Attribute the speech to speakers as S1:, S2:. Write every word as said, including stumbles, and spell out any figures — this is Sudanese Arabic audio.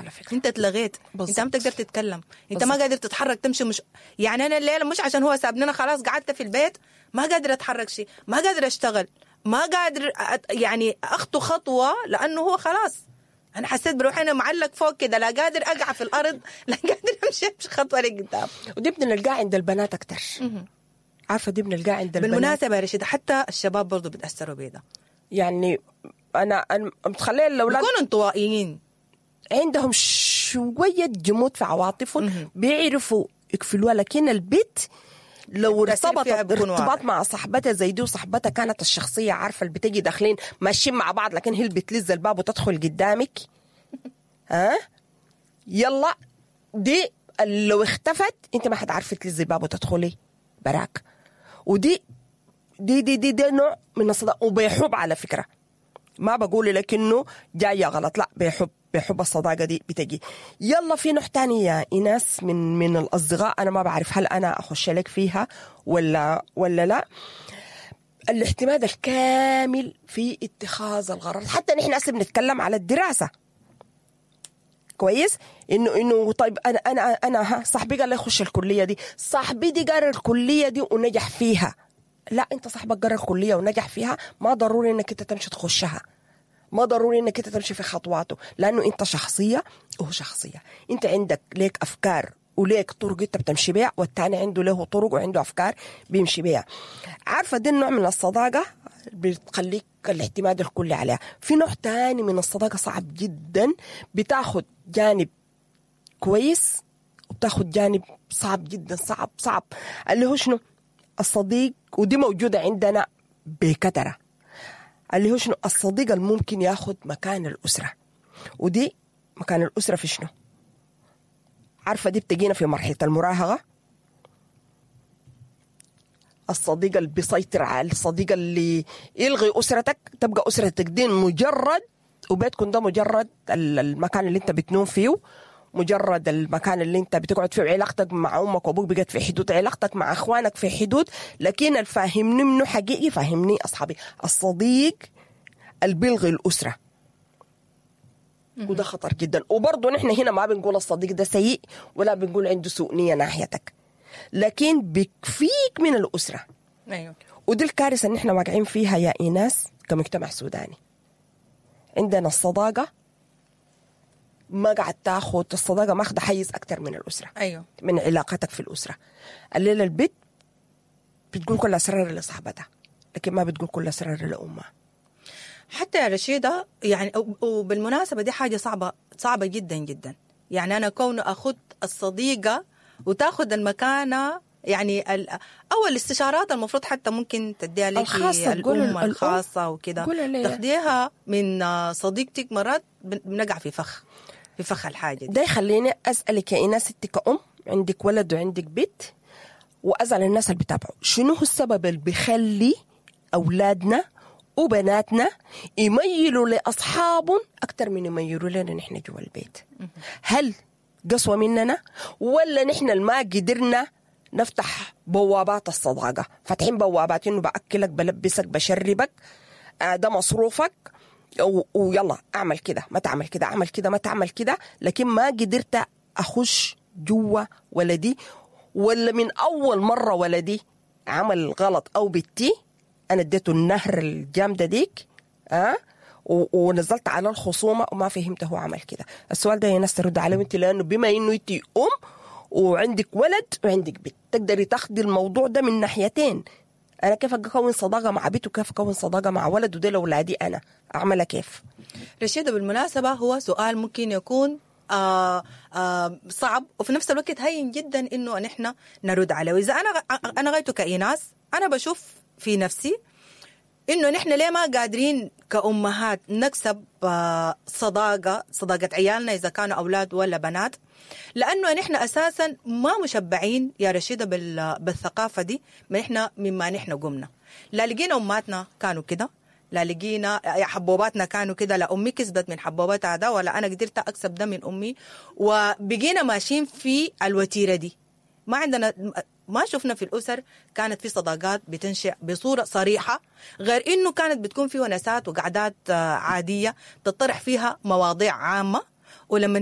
S1: على فكرة.
S2: انت اتلغيت، انت ما بتقدر تتكلم، انت ما قادر تتحرك تمشي. مش يعني انا الليلة مش عشان هو سابني انا خلاص قعدت في البيت ما قادر اتحرك شيء، ما قادر اشتغل، ما قادر يعني اخطو خطوة، لانه هو خلاص انا حسيت بروحي انا معلق فوق كده، لا قادر اقع في الارض لا قادر امشي امشي خطوة لقدام.
S1: ودي بنلقاها عند البنات اكثر. عارفه دي بنلقاها عند البنات
S2: بالمناسبة يا رشيد، حتى الشباب برضه بيتاثروا بيها.
S1: يعني انا انا متخليه الاولاد
S2: بيكونوا انطوائيين،
S1: عندهم شوية جمود في عواطفهم، بيعرفوا يقفلوها. لكن البيت لو ارتبطت ارتباط مع صاحبتها زي دي، وصاحبتها كانت الشخصية عارفه اللي بتجي داخلين ماشيين مع بعض، لكن هي اللي بتلز الباب وتدخل قدامك، ها يلا دي لو اختفت انت ما حتعرفي تلزي الباب وتدخلي براك. ودي دي دي دي, دي نوع من الصداقة، وبيحب على فكرة، ما بقول لك انه جاية غلط، لا بيحب بحب الصداقة دي بتجي. يلا في نوع تاني يا ايناس من من الاصدقاء، انا ما بعرف هل انا اخش لك فيها ولا ولا لا. الاعتماد الكامل في اتخاذ القرار، حتى نحن هسه بنتكلم على الدراسة كويس، انه انه طيب انا انا انا ها صاحبي قال لي خش الكلية دي، صاحبي دي قرا الكلية دي ونجح فيها. لا انت صاحبك قرا الكلية ونجح فيها، ما ضروري انك انت تمشي تخشها، ما ضروري انك انت تمشي في خطواته، لانه انت شخصية وهو شخصية، انت عندك ليك افكار وليك طرق انت بتمشي بيها، والثاني عنده له طرق وعنده افكار بيمشي بيها. عارفه دي النوع من الصداقة بتخليك الاعتماد الكلي عليها. في نوع تاني من الصداقة صعب جدا، بتاخد جانب كويس وبتاخد جانب صعب جدا، صعب صعب، اللي هو شنو؟ الصديق، ودي موجودة عندنا بكثرة، اللي هو شنو؟ الصديق الممكن ياخد مكان الأسرة. ودي مكان الأسرة في شنو؟ عارفة دي بتجينا في مرحلة المراهقة، الصديق اللي بيسيطر على الصديق اللي يلغي أسرتك، تبقى أسرتك دي مجرد، وبيتكم ده مجرد المكان اللي انت بتنوم فيه، مجرد المكان اللي انت بتقعد فيه، علاقتك مع امك وابوك بقت في حدود، علاقتك مع اخوانك في حدود، لكن الفاهمني منه حقيقي فاهمني اصحابي. الصديق اللي بيلغي الاسرة، وده خطر جدا. وبرضه نحن هنا ما بنقول الصديق ده سيء ولا بنقول عنده سوء نيه ناحيتك، لكن بيكفيك من الاسرة.
S2: ايوه،
S1: ودي الكارثة اللي نحن واقعين فيها يا ايناس كمجتمع سوداني. عندنا الصداقة ما قاعد تاخد، الصداقة ماخده حيز اكثر من الاسرة.
S2: ايوه،
S1: من علاقتك في الاسرة. الليلة البيت بتقول كل اسرار لصاحبتها، لكن ما بتقول كل اسرار لامها.
S2: حتى يا رشيده يعني، وبالمناسبة دي حاجة صعبة صعبة جدا جدا. يعني انا كون اخذ الصديقة وتاخذ المكانة، يعني اول الاستشارات المفروض حتى ممكن تديها لك الام الخاصة وكده، تاخديها من صديقتك، مرات بنقع في فخ في فخ الحاجة دي.
S1: ده يخليني اسالك يا ايناس، انت كأم عندك ولد وعندك بيت، واسال الناس اللي بيتابعوا، شنو هو السبب اللي بيخلي اولادنا وبناتنا يميلوا لاصحابهم اكثر من يميلوا لنا نحن جوا البيت؟ هل قسوة مننا، ولا نحن ما قدرنا نفتح بوابات الصداقة؟ فاتحين بوابات انه باكلك بلبسك بشربك، آه ده مصروفك، ويلا اعمل كده ما تعمل كده، اعمل كده ما تعمل كده، لكن ما قدرت اخش جوا ولدي. ولا من اول مرة ولدي عمل غلط او بنتي انا اديته النهر الجامدة ديك، اه ونزلت على الخصومة وما فهمت هو عمل كده. السؤال ده يا ناس ترد عليه انت، لانه بما انه انت ام وعندك ولد وعندك بنت، تقدري تاخدي الموضوع ده من ناحيتين. انا كيف اكون صداقه مع بنت وكيف اكون صداقه مع ولد، وده لاولادي انا اعملها كيف؟
S2: رشيده بالمناسبة هو سؤال ممكن يكون آه آه صعب، وفي نفس الوقت هين جدا انه نحن نرد عليه. واذا انا انا غايته كايناس، انا بشوف في نفسي انه نحن ليه ما قادرين كأمهات نكسب صداقة صداقة عيالنا إذا كانوا أولاد ولا بنات، لأنه نحن أساسا ما مشبعين يا رشيدة بالثقافة دي من نحن مما نحن قمنا. لا لقينا أماتنا كانوا كده، لا لقينا حبوباتنا كانوا كده، لا أمي كسبت من حبوباتها ده ولا أنا قدرت أكسب ده من أمي، وبقينا ماشيين في الوتيرة دي. ما عندنا، ما شفنا في الأسر كانت في صداقات بتنشئ بصورة صريحة، غير إنه كانت بتكون في ونسات وقعدات عادية تطرح فيها مواضيع عامة، ولما